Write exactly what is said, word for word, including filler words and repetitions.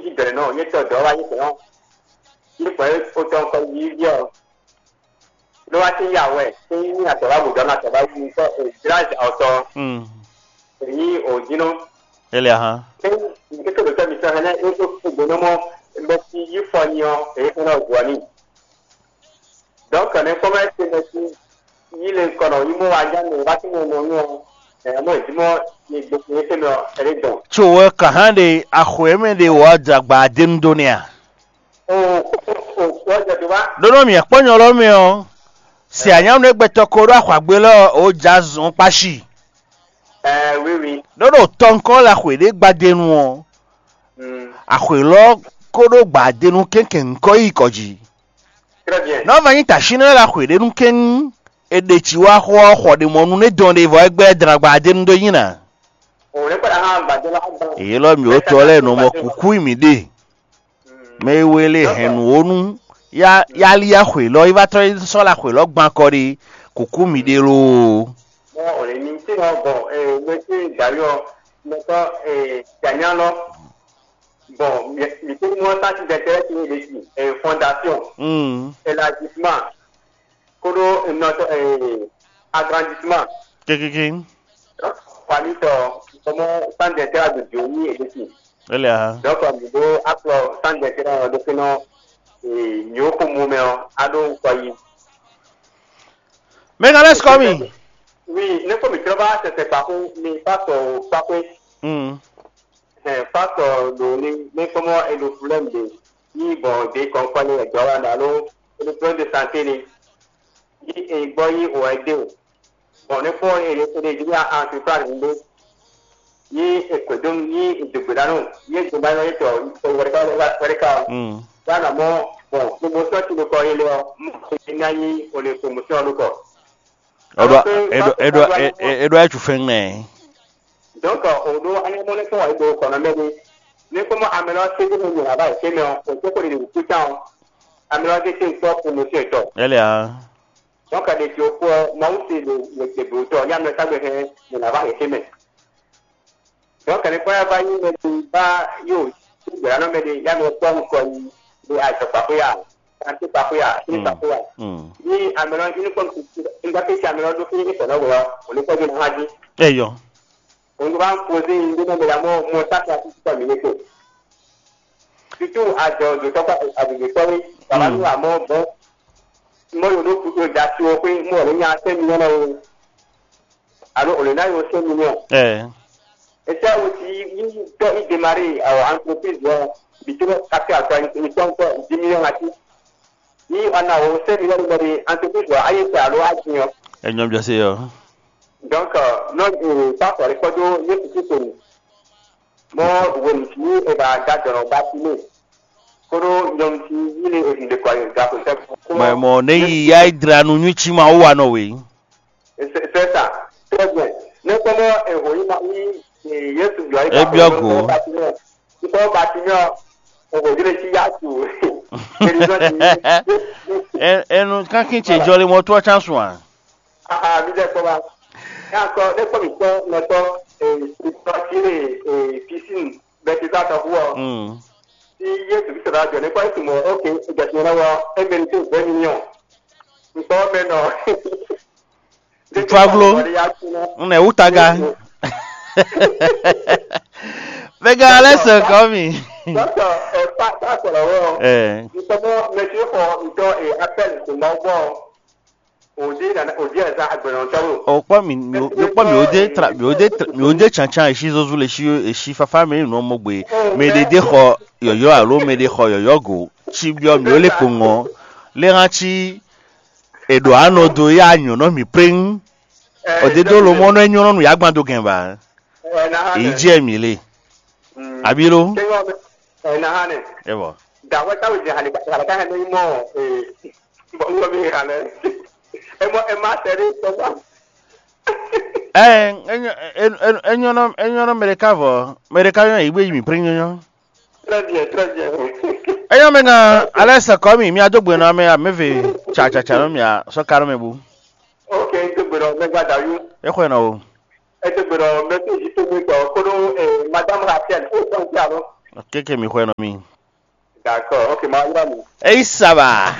yí bɛ̌nɔ, nyɛ tɔ dɔ̌ wá yí bɛ̌nɔ, yí bɛ̌ otɔn kɔ yí yí ɔ́, ló wá sí yá wɛ, sí yí atɔ̌ wá bǔ dɔ́ atɔ̌ wá yí kɔ, jláz ɔtɔ, Mm. Yí òjínú. Ele ahan. Ní ní tó ɖo tɔ́ mitɔn hɛn é tó kú gbóná mɔ bɔ sí yí fɔ nyi ɔ́, èyí fún náà gbɔ ní. Donc ne kɔmɛ se mɛ sí yí le kɔnɔ yí mɔ wá já nɔ wá sí mɔ nɔ nɔ ɛ mɔ ìdímɔ ní gbogbo é fẹ́ mɛ ɔ ɛ lé dɔn. Tso wɛ ka hã ɖe axɔɛ mɛ ɖe wɔ jagba adenu dó nɛ a? O o o jɛ do wá. Ɖó nɔ mì kpɔ́ nyɔ lɔ mɛ ɔ, se anyánu e gbɛtɔ ko ɖó axɔagbe lɔ ɔ, ó já zɔn kpáshi. Ɛ oui oui. Ɖó ɖo tɔnkɔ la xwe ɖé gbadenu ɔ, Mm. Axwe lɔ ko ɖó gbadenu kɛnkɛn ŋkɔ yi kɔ jí. Très bien. Nɔ va nyí tashi nɛ la xwe ɖé nu kɛn e ɖe ci wá xɔ xɔ ɖe mɔ nu ne dɔn ɖe vɔ egbɛ dran gbadenu dó nyi na. O ne kpɔɖa hã gbadé la gban. Èyí lɔ mi ó tɔ lɛ nɔ mɔ kuku yi mi ɖe. Mɛ e we le hɛn nǔ ó nu yá yá lí axwe lɔ yi va trɔ yi sɔ́ la axwe lɔ gban kɔ ɖi kuku mi ɖe loo. Bon, o le mi ti nɔ bon, eh, monsieur Dayo, nɔtɔ, eh, Daniel lɔ. Bon, mi mi ti mɔ tati dɛtɛrɛ ti ni de ti, eh, fondation, Mm. Élargissement, koɖo nɔtɔ, eh, agrandissement. Kékéké. Famille tɔ, kɔmɔ centre d'intérêt de Dieu ni e de ti. Ele a. Donc, mi ɖo akplɔ centre d'intérêt ɔ ɖo fínɔ, eh, nyɔ̌ xomumɛ ɔ, a ɖo ŋkɔ yi. Mega let's call me. Oui, ne ko mi trɔ va sɛsɛ kpaxu mi pasɔ kpaxu. Mm. Ɛ pasɔ ɖo ni ne kɔmɔ e ɖo problème de ni bɔ de kɔnkɔn ni ɛdɔ wa na lo e ɖo problème de santé ni ni e gbɔ yi o ɛde o. Bɔn ne kpɔ e ɖe e ɖe di ni a entreprise ɖo ni e kwe do ni e dogbe da no ni e dogbe da no e tɔ e wɛrɛ ka wɛrɛ ka Mm. wa na mɔ bɔn promotion ti ɖo kɔ yi lɛ ɔ mo e na yi o le promotion ɖo kɔ. Eɖo eɖo eɖo eɖo etu fɛn nɛ. Donc, o ɖo anyamɔnɛ fún wa ɖo kɔnɔ mɛ ɖe. Ne kɔmɔ amɛlɔ se ɖe mɛ nyina va yi mɛ ɔ, o tɛ ko ɖe ɖe kú tán ɔ. Amɛlɔ de se kpɔ promotion tɔ. Ele a. Donc, ɖe tso kpɔ Mawu se ɖo wɛgbɛgbɛ tɔ ya mɛ sagbe hɛn nyina va yi mɛ. Donc, ne kpɔ ya va yi mɛ ɖe ba yo gbɛranɔ mɛ ɖe ya mɛ kpɔ ŋkɔ yi ɖe azɔkpaxwe ya. Kanti kpaxwe ya, kini kpaxwe ya. Ni amɛlɔ ini kɔn n gba kesi amɛlɔ ɖo fini kɔnɔ wɔ o le kɔjɔ na hã jí. Eyɔ. O n ba poze yi ɖe mɛ la mɔ mɔ tata ti tɔ mi ne ko. Surtout adɔ do tɔ kpa adɔ do tɔ mi. Baba nu amɔ bɔ mɔ yo ɖo kudo da ti o xwe mɔ le nya sɛ mi nyɔ na o. Alo o le na yo sɛ mi nyɔ. Ɛ. Ese awo ti yi tɔ i démarrer awo entreprise lɔ bi to kati akɔ ni tɔn kɔ dix millions ati. Ni ana o sɛ mi lɔ bɔ de entreprise lɔ ayi sɛ alo ati yɔ. Enyɔ biɔ se yɔ. Donc nɔ pastor kɔdo Yesu Kristo ni. Mɔ wenu ti e ba da dɔnɔ ba ti ne. Koɖo nyɔnu ti yi ne e ɖe kɔ yi ga ko sɛ. Mɔ mɔ ne yi ya yi dra nu nyui ci ma wo wa nɔ we. C'est ça. Très bien. Ne kɔmɔ eho yi ma yi Yesu yɔ yi. E biɔ go. Nkɔ Bartimeo, o ko jle si ya tu. Enu kankin ce jɔli mɔ tɔ can sun a. Ah, mi dɛ kɔ ba. Ya kɔ ne kɔ mi kɔ nɔtɔ, eh, piscine, bɛ ti ta tɔ hu ɔ. Mm. Si Yesu Kristo la jɔ ne kɔ esu mɔ, ok, jɔsi na wɔ, e mérite vingt millions. Nkɔ mɛ nɔ. Tutu aglo. N nɛ wu taga. Vega alɛ sɛ kɔ mi. Dɔkɔ ɛ pa pa sɔrɔ wɔ. Ɛ. Ntɔmɔ mɛtiri xɔ ntɔ ɛ apɛl to ma gbɔ. Odi na odi ɛ zan agbɛnɔ ntɔ lo. O kpɔ mi mi o kpɔ mi o de tra mi o de tra mi o de tsantsan esi zozu le si esi fafa mi nɔ mɔ gbe. Mɛ ɖe de xɔ yɔyɔ alo mɛ ɖe xɔ yɔyɔ go. Tsi biɔ mi o le kpo ŋɔ. Le hã tsi È ɖo anɔ dó ya nyɔ̌nɔ mǐ pléŋ. Ɔ dé dó lomɔ̌ nɔ é nyɔ́ nú yǎgbán dó gɛn ba. Èyí jɛ mǐ lé. Abí ló. Ɛ bɔ. Ɛ é nyɔ́ nɔ é nyɔ́ nɔ mɛ ɖeka vɔ mɛ ɖeka nyɔ́ yǐ gbé yi mǐ pléŋ nyɔ́. Très bien, très bien. Eyɔ́ mɛ gán alɛ sɛ kɔ́ mì mía dó gbe nɔ amɛ amɛve tsatsatsa nɔ mia sɔ́ ká nɔ mɛ bú. Ok, n dó gbe nɔ mɛ gba dayú. É xɔ nɔ o. É dó gbe nɔ mɛ tó yí tó gbé tɔ kódó madame Rachel ó sɔn tí a lọ. Kéke mi xwɛ nɔ mi. D'accord, ok, ma ylɔ́ mi. Eyi saba.